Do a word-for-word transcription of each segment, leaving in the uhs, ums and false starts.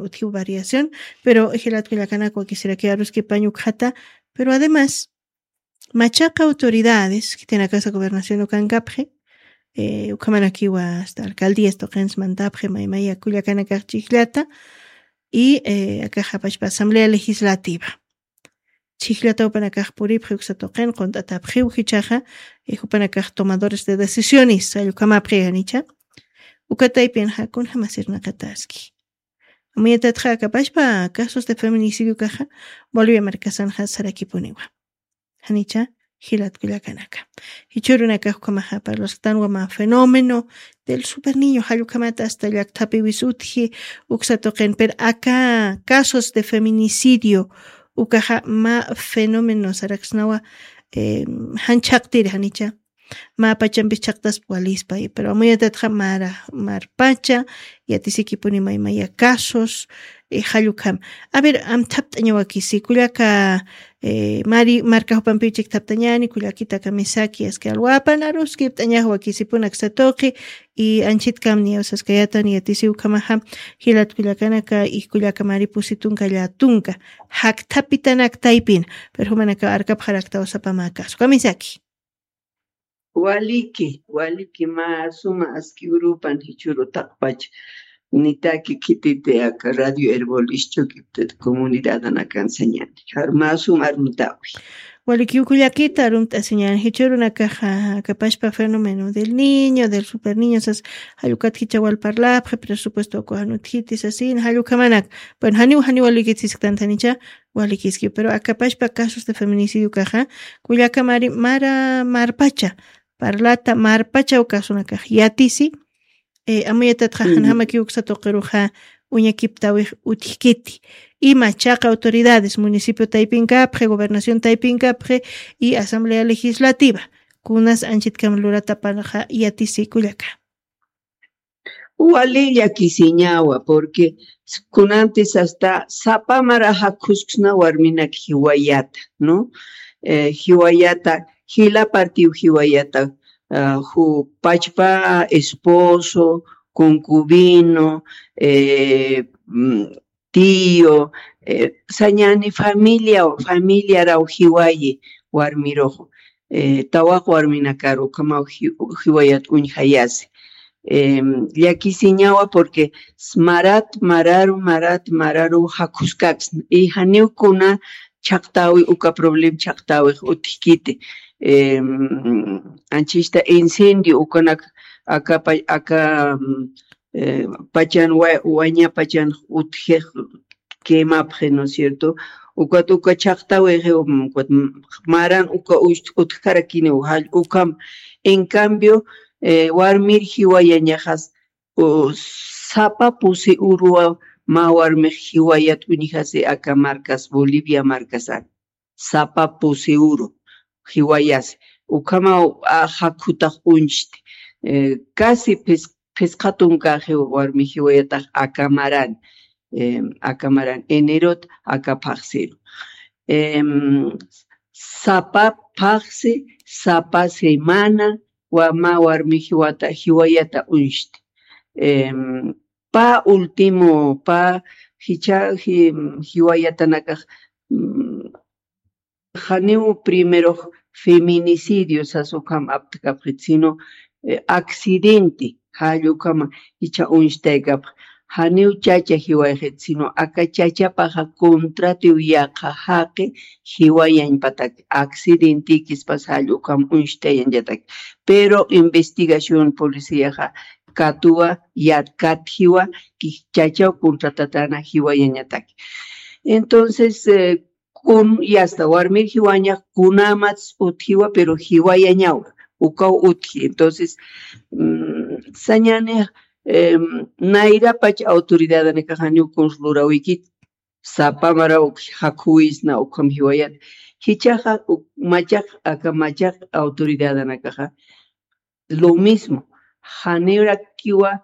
utjiw variación, pero jilat kullakanaka wakisiraki aruskipañ ukxata, pero además, machaqa autoridades, khitinakasa gobernación ukankapxi, eh, ukhamanakiwa hasta alcaldías tuqinsmantapxi, maymaya kullakanakax chijllata, y, eh, akaxapashpa asamblea legislativa. Chijllata upanakax puripxi uksa tuqin, qunt'atapxiw jichaxa, eh, jupanakax tomadores de decisiones, allukhamapxi janicha. Ukataypin jakun jamasirnaqataski. Amuyatatxa akapashpa casos de feminicidio kaxa, Bolivia markasanxa sarakipuniwa. Janicha, jilat kullakanaka. Jichhürunakax ukhamaxa parlasxtanwa mä fenómeno del superniño, jallukhamata hasta llakthapiwis utji, uksa tuqin, pero aka casos de feminicidio, ukaxa mä fenómeno saraksnawa, eh, jan chhaqtiri janicha. Mä pachampis chhaqtaspa walispa, pero amuyatatxa mara, marpacha, yatisikipuni maymaya casos, eh, jallukham. A ver, amthapt'añawakisi, kullaka, eh, mari, marka jupampiw chikthaptañani, kullakita kamisaki, aski alwapan aruskipt'añax wakisipun aksa tuqi, y anchitkam niyaw saskayatan yatisiw ukhamaxa, jilat kullakanaka, y kullaka mari pusi tunka llatunka, jakthapitanak taypin, pero jumanaka arkapxaraktaw sapa mä caso. Kamisaki. Waliki, waliki, mä suma aski urupan jichhüru taqpach. Nitaki khititi aka Radio Erbol ischukiptit comunidadanakan sañani. Jar mä suma arumtawi. Waliki, uka llakita arumt'asiñan, jichhürunakaxa akapashpa fenómeno del niño, del superniño, sas, jallukat jichha wal parlapxi, presupuesto uka jan utjiti sasin, jallukhamanak. Bueno, janiw, janiw walikitsisktantanicha, walikiski, pero akapashpa casos de feminicidio kaxa, kullaka mari, mara, marpacha, parlata, marpacha ukasuna kax, yatisi, eh, amuyatatxa, janjamaki uksa tuqiruxa, uñakiptawix utjkiti. Y machaqa autoridades, municipio taypinkapxi, gobernación taypinkapxi, y asamblea legislativa, kunas anchitkam luratapanxa, yatisi kullaka. Wali llakisiñawa, porque kunantis hasta sapa mara jakkusksna warminak jiwayata, ¿no? Eh, jiwayata, jila partiw jiwayata, ah, ju pachpa esposo, concubino, eh, mm, tío, eh, sañani familia, familiaraw jiwayi warmirux, eh, tawaq warminakaru ukhamaw ji-, jiwayat uñjayasi. Em, llakisiñawa porque s-, marat, mararu, marat, mararu jakhuskaksna. Y janiw kuna chhaqtäwi, uka problem chhaqtäwix utjkiti. Em, anchista incendio, ukanak aka pa-, aka, mm, eh, pachan wa-, waña pachan utjix quemapxi, ¿no es cierto? Ukat uka chhaqtäwixi, um, ukat m-, maran uka ucht-, utjarakiniw jall-, ukham. En cambio, eh, warmir jiwayañaxas, u, sapa pusi uruwa mä warmix jiwayat uñjasi aka markas, Bolivia markasan. Sapa pusi uru jiwayasi. Ukhamaw, a, jakhutax uñchti. Eh, casi phis-, phisqa tunkaxi warmi jiwayatax aka maran, em, aka maran enerot aka phaxsiru. Em, sapa phaxsi, sapa semana, wa mä warmi jiwata, jiwayata uñchti. Em, pä último, pä jichha ji-, jiwayatanakax, mm, janiw primerux feminicidio sas ukham aptkapxit, sino, eh, accidente, jall ukhama jichha uñstaykapx, janiw chacha jiwayxit, sino aka chachapaxa contratiw yaqha jaqi jiwayañpatak, accidentekispas jall ukham uñstayañatak. Pero investigación policiaxa katuwa, yat-, katjiwa, ki-, chachaw contratatana jiwayañatak. Entonces, eh, kun, y hasta warmir jiwañax kunamats utjiwa, pero jiwayañawa, ukaw utji. Entonces, mm, sañani, em, nayrapach autoridadanakax janiw kuns lurawikit, sapa maraw jakhuwisna ukham jiwayat. Jichhaxa, u-, machaq, aka machaq autoridadanakaxa, lo mismo, janirakiwa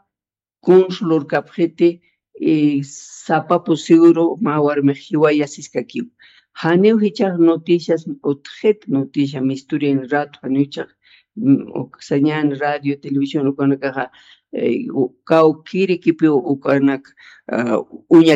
kuns lurkapxiti, eh, sapa pusi uru mä warmix jiwayasiskakiw. Janiw jichhax noticias utjxit, noticia misturian rato, janiw jichhax, mm, uk-, sañan radio, televisión, ukanakaxa, eh, u-, kawkirikipiw ukanak, ah, uñak